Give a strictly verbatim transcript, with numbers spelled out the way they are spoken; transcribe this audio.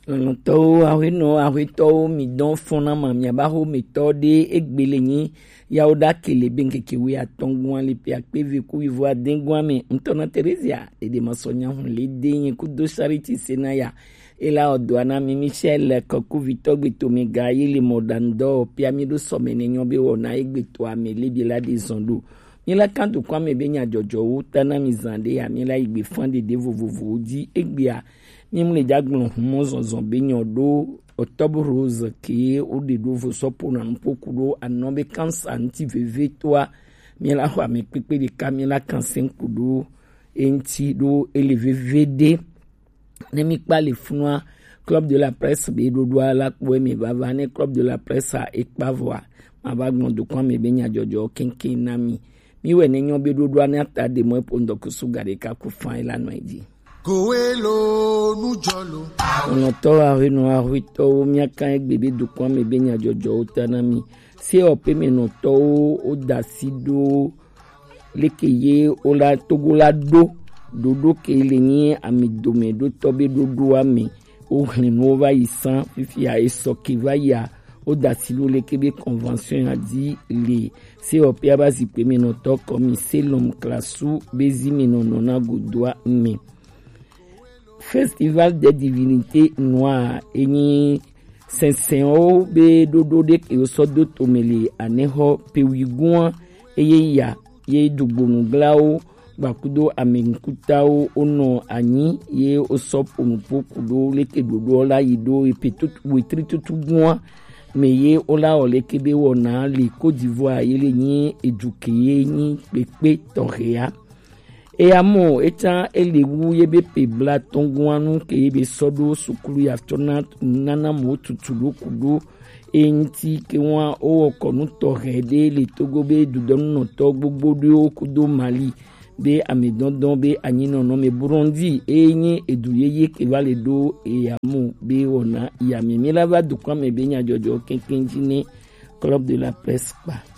Lɔlɔ̃tɔwo, aƒenɔwo, aƒetɔwo, mi dɔn fɔna ma, miaba xo mi tɔ ɖe egbele nyi yawo ɖa kele be ŋkeke wi atɔn gua le pe akpe ve ku wi vo aden gua me. Ŋutɔ na Terezia, ɖeɖe ma sɔ nya hun le de nyi ku do Charity Senaya. Ela ɔdɔa na mi Michel kɔku vitɔ gbe to mi ga ye le mɔ ɖa ŋdɔ pia mi ɖo sɔ me ne nyɔ be wɔ na egbe to ame le bi la de zɔn ɖo. Mi la kan do kɔ ame be nya jɔjɔwo ta na mi zan ɖe ya mi la yi gbe fan ɖeɖe vovovowo dzi egbea. Mímlɔe dzi agblɔ humɔ zɔzɔ be nyɔ ɖo Octobre Rose ke woɖe ɖo vo sɔ ƒona nuƒo ku ɖo anɔ be kansa ŋuti veve toa. Míela xɔ ame kpekpe ɖeka míela kanse ku ɖo eŋuti ɖo ele veve ɖe. Ne mi kpa le funua, Club de la Presse be ɖoɖoa la kpɔ eme vava. Ne Club de la Presse a ekpa vɔa, ma va gblɔ dokɔ ame be nya jɔjɔ keŋkeŋ na mi. Mi wɛ ne nyɔ be ɖoɖoa ne ata ɖe mɔ eƒo ŋdɔkusu ga ɖeka ku fan la nɔ edzi. Kowelo nujɔlo. Onɔtɔ ahenɔ ahuitɔwo miaka egbe be dokɔ ame be nya jɔjɔwo ta na mi. Se ɔpe me nɔtɔwo wo da si ɖo leke ye wo la Togo la ɖo ɖoɖo ke le nyi ami dome ɖo tɔ be ɖoɖoa me. Wo hlin nuwo va yi san fifia esɔ ke va yia wo da si ɖo leke be convention ya dzi le. Se ɔpea ba zikpe me nɔtɔ kɔ mi selɔm klasu be zi me nɔnɔ na godoa me. Festival des divinités noires enyi sɛnsɛnwo be ɖoɖo ɖe ke wosɔ do tome le anexɔ pewigun eye ya ye dugbonuglawo gbakudo ame ŋkutawo wonɔ anyi ye wosɔ ƒo nuƒo ku ɖo leke ɖoɖoɔ la yi ɖo epe tutu wetri tutu gua me ye wola wɔ leke be wɔna le Côte d'Ivoire ye le nyi edu ke ye nyi kpekpe tɔxɛa. Eya mɔ etsa ele wu ye be pe bla tɔngua nu ke ye be sɔ ɖo sukulu ya tsɔ na nana mo tutu ɖo ku ɖo eŋti ke wa wo kɔnu tɔxɛ ɖe le Togo be dudɔnunɔtɔ gbogbo ɖewo kudo Mali be amedɔndɔn be anyinɔnɔ me Burundi eye nye edu yeye ke va le ɖo eya mo be wɔna ya me mi la va dukɔ me be nyadzɔdzɔ keŋkeŋ dzi ne Club de la Presse kpa.